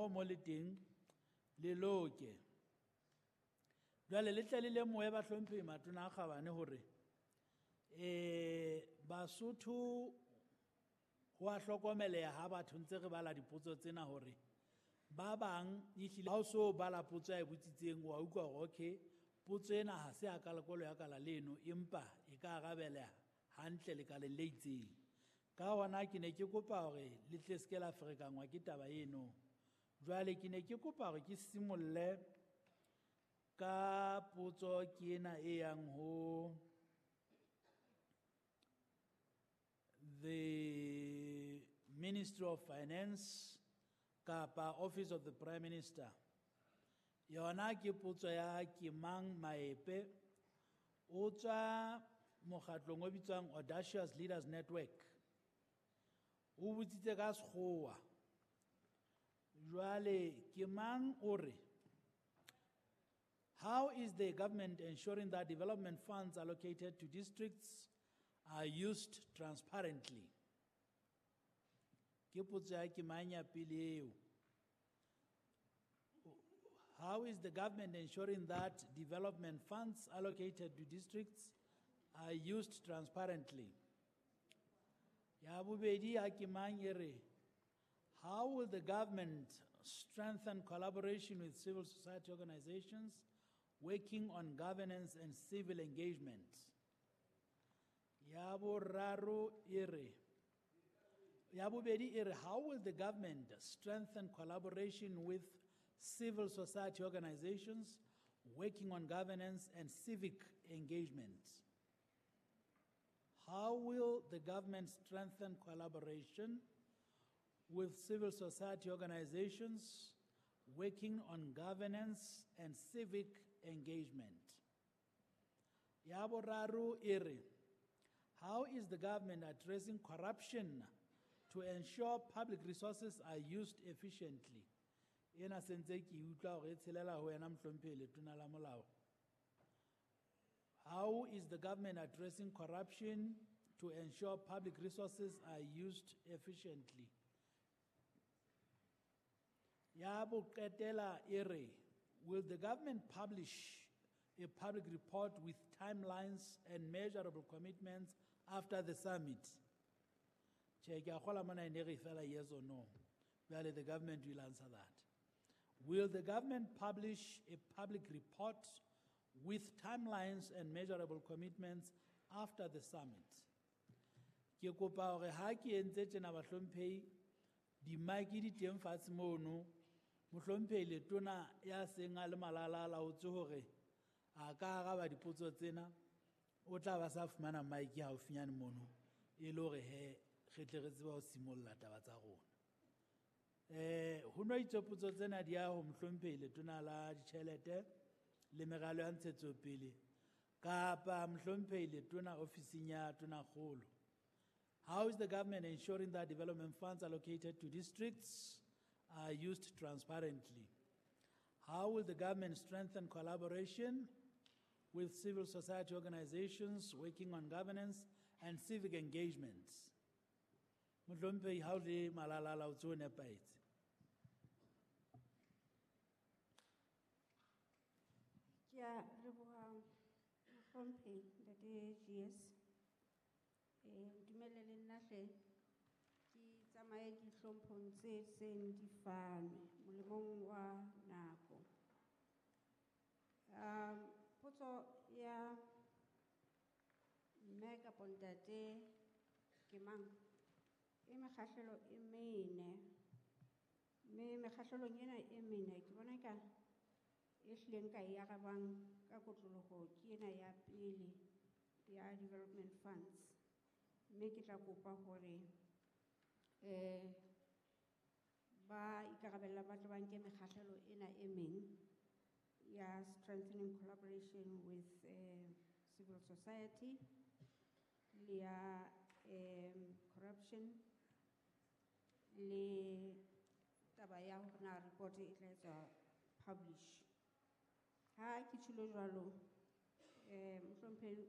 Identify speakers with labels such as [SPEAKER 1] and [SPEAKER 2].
[SPEAKER 1] Letsoho mo le teng le loke. Jwale le tle le lemohe bahlomphehi matona a kgabane hore Basotho ho a hlokomeleha ha batho ntse re bala dipotso tsena hore ba bang ehlile ha o so bala potso ya e botsitseng wa utlwa hore okay potso ena ha se ya kalakolo ya kala leno empa e ka arabeleha hantle lekaleng le itseng. Ka hona ke ne ke kopa hore le tle se ke la ferekangwa ke taba eno. Jwale ke ne ke kopa hore ke simolle ka potso ke ena e yang ho the Ministry of Finance kapa Office of the Prime Minister. Yona ke potso ya Kemang Maepe, o tswa mokgatlong o bitswang Audacious Leaders Network. O botsitse ka sekgowa. Jwale Kemang o re, how is the government ensuring that development funds allocated to districts are used transparently? Ke potso ya Kemang ya pele eo. How is the government ensuring that development funds allocated to districts are used transparently? Ya bobedi ya Kemang e re, how will the government strengthen collaboration with civil society organizations working on governance and civil engagement? Ya boraro e re, ya bobedi e re, how will the government strengthen collaboration with civil society organizations working on governance and civic engagement? How will the government strengthen collaboration with civil society organizations working on governance and civic engagement? Ya boraro e re, how is the government addressing corruption to ensure public resources are used efficiently? Ena sentse ke utlwa hore e tshelela ho wena mohlomphehi Letona la Molao. How is the government addressing corruption to ensure public resources are used efficiently? Ya boqetela e re, will the government publish a public report with timelines and measurable commitments after the summit? Che, ke a kgolwa mona e ne re fela yes or no. Jwale the government will answer that. Will the government publish a public report with timelines and measurable commitments after the summit? Ke kopa hore ha ke entse tjena bahlomphehi, dimaiki di teng fatshe mono, mohlomphehi Letona ya seng a le malala a laotse hore a ka araba dipotso tsena, o tla ba sa fumana maiki haufinyane mono, e le hore he re tle re tsebe ho simolla taba tsa rona. Ho no itswe potso tsena di ya ho mohlomphehi Letona la Ditjhelete le Meralo ya Ntshetsopele kapa mohlomphehi Letona ofising ya Tonakgolo. How is the government ensuring that development funds allocated to districts are used transparently? How will the government strengthen collaboration with civil society organizations working on governance and civic engagements? Mohlomphehi, ha o le malala a laotse ho nepahetse.
[SPEAKER 2] Ke a leboha mohlomphehi Ntate GS. Ntumelle le nna hle ke tsamaye dihlomphong tse seng di fanwe molemong wa nako. Potso ya mme kapa ntate ke mang? E mekgahlelo e mene. Mme mekgahlelong ena e mene ke bona ka e hlileng ka e arabang ka kotloloho ke ena ya pele ya development funds. Mme ke tla kopa hore ba ikarabella ba tle ba nke mekgahlelo ena e meng ya strengthening collaboration with civil society le ya corruption le taba ya hore na report e tla etswa publish. Ha ke tjholo jwalo, mohlomphehi